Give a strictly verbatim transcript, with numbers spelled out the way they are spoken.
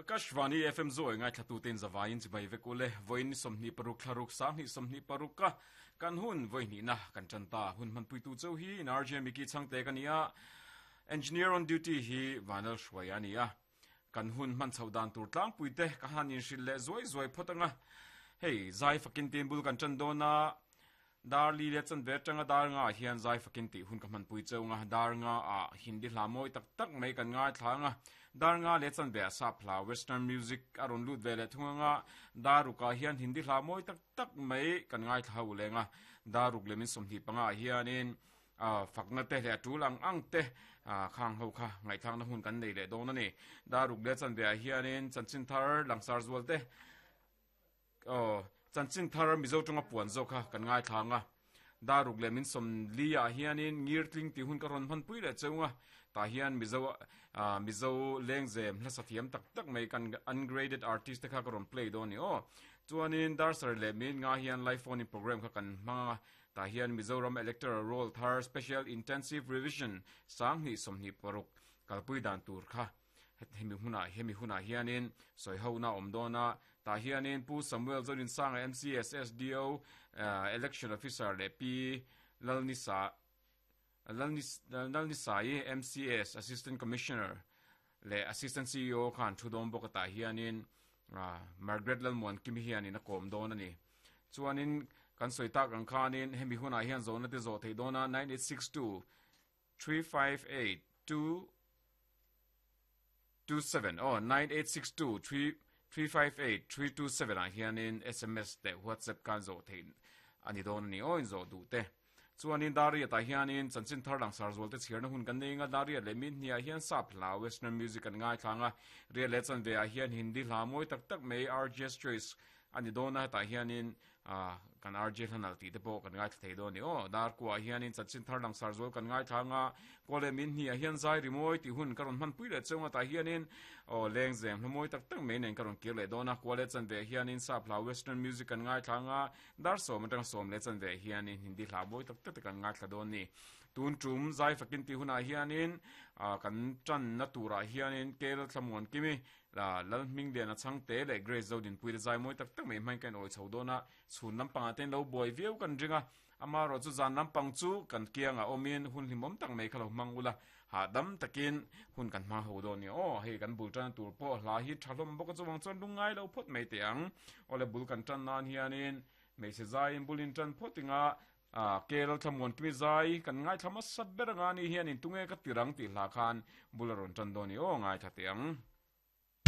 Akashvani F M zo ngai thlatu ten zawain chibai vekule voin somni paruk thlaruk sang ni somni paruk ka kan hun voini na kan chanta hun man puitu chau hi in R J Miki changte kania engineer on duty hi Vanal Shwayania kan hun man chaudan tur tlang puite ka hanin hril le zoi zoi photanga hei zai fakin tin bul kan chan dona dar li le chan ve tanga dar nga hian zai fakin ti hun ka man pui cheu nga dar nga a hindi hla moi tak tak mai kan ngai thla nga dar nga le chan ve sa phla western music aron lut ve le thunga nga daruka hian hindi hla moi tak tak mai kan ngai thla u le nga daruk le min somhi panga hianin a fakna te le tulang ang te a khang ho kha ngai thang na hun kan nei le don ani daruk le chan ve hianin chanchin thar langsar zual te oh chanchin thar mizo tunga puan zo kha kan ngai thanga daruk le min som lia hianin ngir tling ti hun ka ron man pui le cheunga ta hian mizo mizo lengzem hla sathiam tak tak mai kan ungraded artist te kha ka ron play don ni o chuanin dar sar le min nga hian live phone program kha kan ma ta hian Mizoram electoral roll thar special intensive revision sang ni somni paruk kalpui dan tur kha hemi huna hemi huna hianin soi ho na omdona ta hianin pu Samuel Zorin sang M C S S D O uh, election officer le P Lalnisa Lalnis Lalnisai M C S assistant commissioner le assistant C E O khan thudom bokata hianin uh, Margaret Lalmon kimi hianin a kom don ani chuanin kan soi tak ang khanin hemi huna hian zona te zo thei dona nine eight six two three five eight two two seven oh nine eight six two three three five eight three two seven a hianin S M S te WhatsApp kan zo thein ani don ni oin zo du te chuanin daria ta hianin chanchin thar lang sar zol te chhirna hun kan nei nga daria le min hnia hian sap hla western music kan ngai thlanga re le chan ve a hian hindi hla moi tak tak mai R J Choice ani dona ta hianin a kan R J hlanal ti te pawh kan ngai thei don ni o dar kwa hianin chanchin thar lang sar zol kan ngai thlanga kole min hnia hian zai rimoi ti hun karon man pui le chunga ta hianin o lengzem hlomoi tak tak mai nen karon kir le dona kole chan ve hianin sap hla western music kan ngai thlanga dar som atang som le chan ve hianin hindi hla moi tak tak kan ngai thla don ni tun tum zai fakin ti huna hianin kan chan na tura hianin kel thlamuan kimi la lal ming le na chang te le grace zodin pui le zai moi tak tak mai mai kan oi chhodona chhun lam panga ten lo boi viau kan ringa ama ro chu zan lam pang chu kan kianga omin hun hlimom tak mai khalo mangula ha dam takin hun kan ma ho do ni o hei kan bul tan tur po hla hi thalom bok chu wang chon lungai lo phot mai te ang ole bul kan tan nan hianin mei se zai in bulin tan photinga a kel thamon kimi zai kan ngai thama sat ber nga ni hianin tunge ka tirang ti hla khan bularon tan do ni o ngai thate ang.